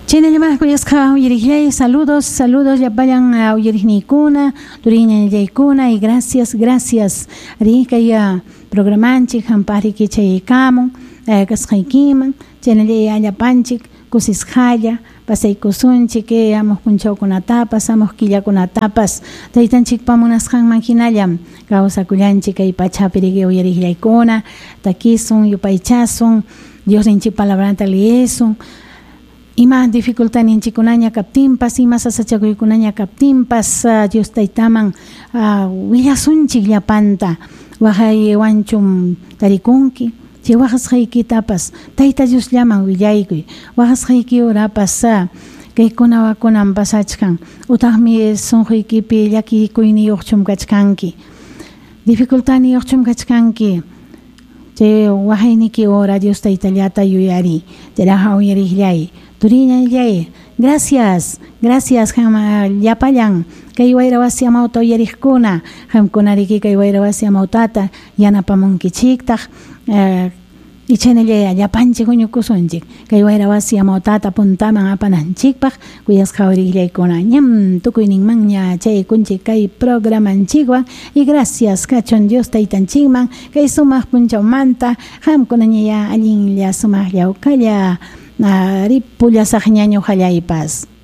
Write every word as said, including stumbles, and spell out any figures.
Chaynallamá kuyasqa uyariqllay, saludos, saludos llapallan uyariqniykuna, turiñallaykuna y gracias, gracias. Ri kay programanchik hampaqriki chayaykamun kasqaykiman, chaynallay llapanchik kusisqalla pasaykusunchik hamuq punchawkunatapas, hamuq killakunatapas, taytanchikpa munasqanman hinallam kawsakullanchik kay pachapi riki uyariqllaykuna, takisun, yupaychasun, Diosninchik palabranta leesun. Ima dificultadninchikkunaña kaptinpas, ima sasachakuykunaña kaptinpas, Dios taytaman willasunchik llapanta, waqaywanchum tarikunki, chay waqasqaykitapas Tayta Diosllaman willaykuy, waqasqayki urapas kaykuna wakunan pasachkan, utaqmi sunquykipi llakikuyniyuqchum kachkanki, dificultadniyuqchum kachkanki, chay waqayniki hora Dios taytallata yuyari, chayraqa uyariqllay, turiñallay, gracias, gracias qam llapallan kay wayra wasi amawta uyariqkuna, qamkuna riki kay wayra wasi amawtata yanapamunkichiktaq, ichaynallay llapanchik huñukusunchik kay wayra wasi amawtata puntaman apananchikpaq kuyasqa uyariqllaykuna, ñam tukuyninmanña chaykunchik kay programanchikwan y gracias kachun Dios taytanchikman kay sumaq punchawmanta qamkunañaya allinlla sumaqlla uqalla ripullasaqña ñuqallaypas.